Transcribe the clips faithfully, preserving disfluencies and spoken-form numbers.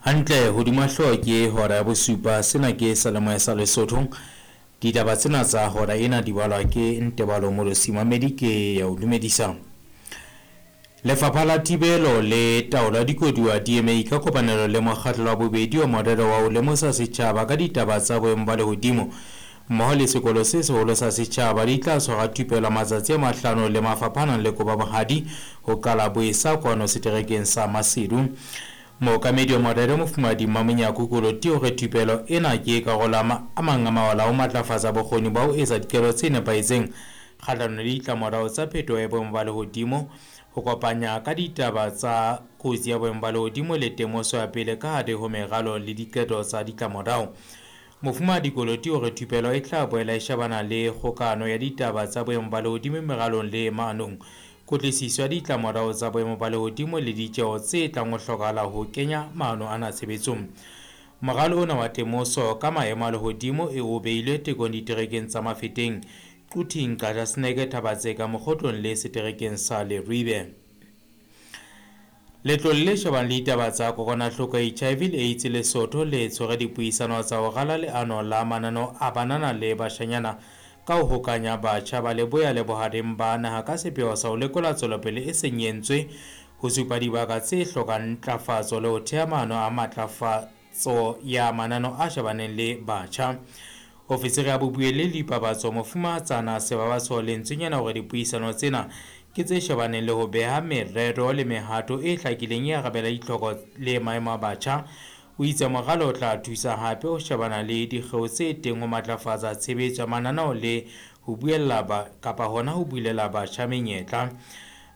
Hantle hodima hlooho ke hora ya bosupa. Sena ke Seyalemoya sa Lesotho. Ditaba tsena tsa hora ena di balwa ke Ntebalo Molosi Mamedi ke ya o dumedisa. Lefapha la Thibelo le Taolo ya Dikoduwa D M A ka kopanelo le mokgatlo wa bobedi wa morero wa ho lemosa setjhaba ka ditaba tsa boemo ba lehodimo mmoho le sekolo se seholo sa setjhaba di tla tshwara thupelo matsatsi a mahlano le mafapha a nang le koba bohadi ho qala boesa kwano seterekeng sa Maseru. Mookamedi wa morero Mofumahadi Mmamonyako Koloti o re thupelo ena ke karolo ya a mang a mawala ho matlafatsa bokgoni ba ho etsa diqeto tse nepahetseng kgahlanong le ditlamorao tsa phetoho ya boemo ba lehodimo, ho kopanya ka ditaba tsa kotsi ya boemo ba lehodimo le temoso ya pele ka hare ho meralo le diqeto tsa ditlamorao. Mofumahadi Koloti o re thupelo e tla boela e shebana le kgokano ya ditaba tsa boemo ba lehodimo meralong le maanong, kutlwisiso ya ditlamorao tsa boemo ba lehodimo le ditjeho tse tlang ho hlokahala ho kenya maano ana tshebetsong. Moralo ona wa temoso ka maemo a lehodimo e o beilwe tekong diterekeng tsa Mafeteng, Quthing, Qachaseneke, Thaba-Tseka, Mokgotlong le seterekeng sa Leribe. Letlole le shebang le ditaba tsa kokwanahloko ya H I V le AIDS Lesotho le tshwere dipuisano tsa ho rala leano la mananeo a banana le bashanyana ka ho hokanya batjha ba leboya le bohareng ba naha ka sepheo sa ho lekola tswelopele e seng e entswe, ho supa dibaka tse hlokang ntlafatso le ho theha maano a matlafatso ya mananeo a shebaneng le batjha. Ofisiri ya bobuelli le dipapatso Mofumahatsana Sebabatso Lentswenyana hore dipuisano tsena ke tse shebaneng le ho beha merero le mehato e hlakileng e arabela ditlhoko le maemo a batjha. O itse moralo o tla thusa hape ho shebana le dikgeo tse teng ho matlafatsa tshebetso ya mananeo le ho buella ba kapa hona ho bulela batjha menyetla.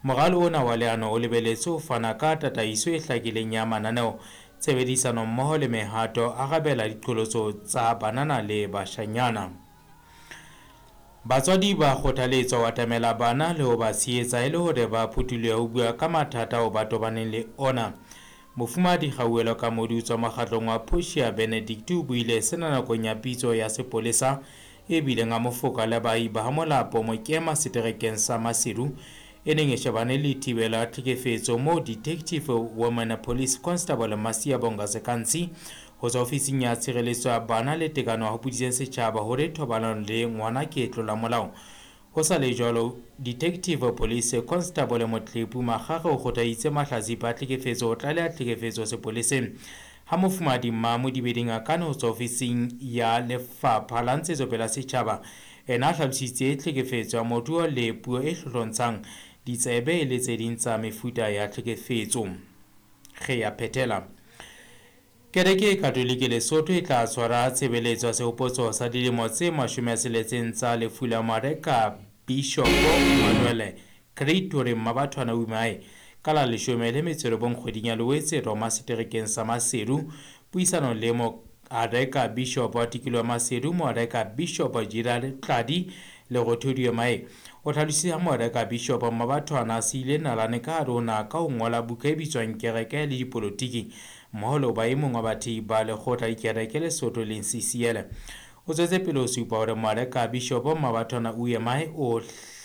Moralo ona wa leano o lebeletse ho fana ka tataiso e hlakileng ya mananeo, tshebedisano mmoho le mehato arabela diqholotso tsa banana le bashanyana. Batswadi ba kgothaletswa ho atamela bana le ho ba tshehetsa e le hore ba phuthulohe ho bua ka mathata ao ba tobaneng le ona. Mofumahadi Kgauhelo Kamodi o tswa mokgatlong wa Portia Benedict o buile sena nakong ya pitso ya sepolesa e bileng a mofoka le baahi ba Molapo Mokema seterekeng sa Maseru e neng e shebane le thibelo ya tlhekefetso moo Detective Women Police Constable Masia Bonga Sekantsi ho tswa ofising ya tshireletso ya bana le tekano a hopoditseng setjhaba hore thobalano le ngwana ke tlola molao. Ho sa le jwalo, Detective Police Constable Motlepu Makgakge o kgothaditse mahlatsipa a tlhekefetso ho tlaleha tlhekefetso sepoleseng. Ha Mofumahadi Mmamodibedi Ngakane ho tswa ofising ya Lefapha la Ntshetsopele ya Setjhaba ena a hlalositse tlhekefetso ya moruo le puo e hlohlontshang ditsebe le tse ding tsa mefuta ya tlhekefetso. Re ya phethela. Kereke e Katolike Lesotho e tla tshwara tshebeletso ya sehopotso sa dilemo tse mashome a tsheletseng tsa lefu la Mareka Bishop Manuel Creatore Mmabathwana Umae ka la leshome le metso e robong kgweding ya Loetse Roma seterekeng sa Maseru. Puisanong le Moareka Bishop wa tikoloho ya Maseru, Moareka Bishop Gerald Tladi Lerothodi Mae o hlalositse ha Moareka Bishop Mmabathwana a siile nalane ka hare ho naha ka ho ngola buka e bitswang Kereke le Dipolotiki mmoho le ho ba e mong wa bathehi ba lekgotla dikereke Lesotho leng C C L. O tswetse pele ho supa hore Moareka Bishop Mmabathwana Uemae o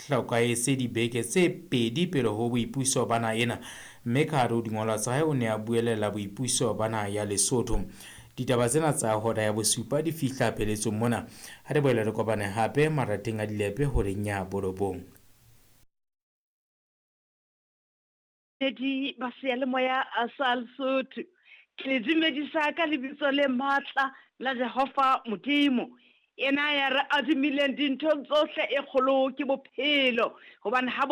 hlokahetse dibeke tse pedi pele ho boipuso ba naha ena, mme ka hare ho dingolwa tsa hae o ne a buelela boipuso ba naha ya Lesotho. Ditaba tsena tsa hora ya bosupa di fihla pheletsong mona. Ha re boele re kopane hape marateng a dilepe horeng ya borobong. Di ba seyalemoya sa Lesotho. Ke le dumedisa ka lebitso le matla la Jehova Modimo. Yena ya re adimileng dintho tsohle e kgolo ke bophelo, hobane ha